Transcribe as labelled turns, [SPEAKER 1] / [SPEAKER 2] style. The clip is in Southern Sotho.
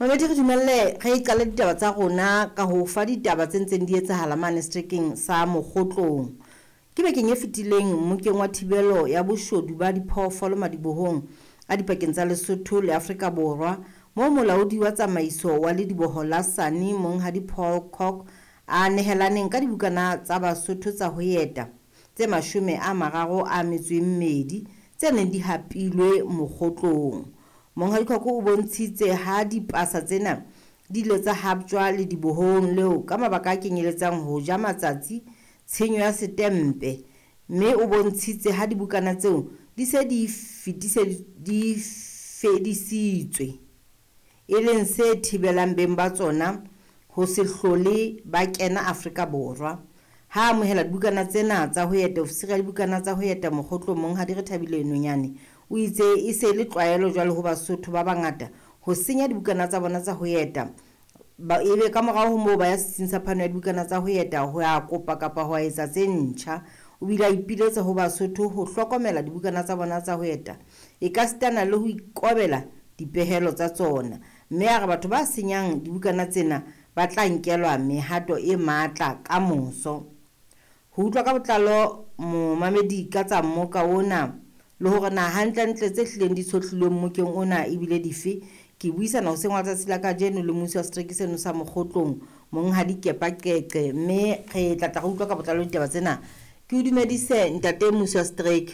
[SPEAKER 1] Mamedi, re dumelle re qale ditaba tsa rona ka ho fa ditaba tse ntseng di etsahala mane seterekeng sa Mokgotlong. Ke bekeng e fetileng mmokeng wa thibelo ya boshodu ba diphoofolo madibohong a dipakeng tsa Lesotho le Afrika Borwa, moo molaodi wa tsamaiso wa lediboho la Sani Monghadi Paul Cock a nehelaneng ka dibukana tsa Basotho tsa ho eta tse 32 tse neng di hapilwe Mokgotlong. Monghadi Cock o bontshitse ha dipasa tsena di ile tsa haptjwa ledibohong leo ka mabaka a kenyeletsang ho ja matsatsi, tshenyo ya setempe, mme o bontshitse ha dibukana tseo di se di di fedisitswe, e leng se thibelang beng ba tsona ho se hlole ba kena Afrika Borwa. Ha amohela dibukana tsena tsa ho eta, ofisiri ya dibukana tsa ho eta Mokgotlong Monghadi Rethabile Nonyane o itse e se le tlwaelo jwale ho Basotho ba bangata ho senya dibukana tsa bona tsa ho eta, ebe ka morao ho moo ba ya setsing sa phano ya dibukana tsa ho eta ho ya kopa kapa ho etsa tse ntjha. O bile a ipiletsa ho Basotho ho hlokomela dibukana tsa bona tsa ho eta, e ka sitana le ho ikobela dipehelo tsa tsona, mme a re batho ba senyang dibukana tsena ba tla nkelwa mehato e matla ka moso. Ho utlwa ka botlalo momamedi ka tsa mmoka ona le hore na hantlentle tse hlileng di tshohlilweng mmokeng ona ebile dife, ke buisana hoseng wa tsatsi la kajeno le mmusi wa setereke seno sa Mokgotlong Monghadi Kepa Qeqe, mme re tla tla re utlwa ka botlalo ditaba tsena. Ke o dumedise ntate mmusi wa setereke.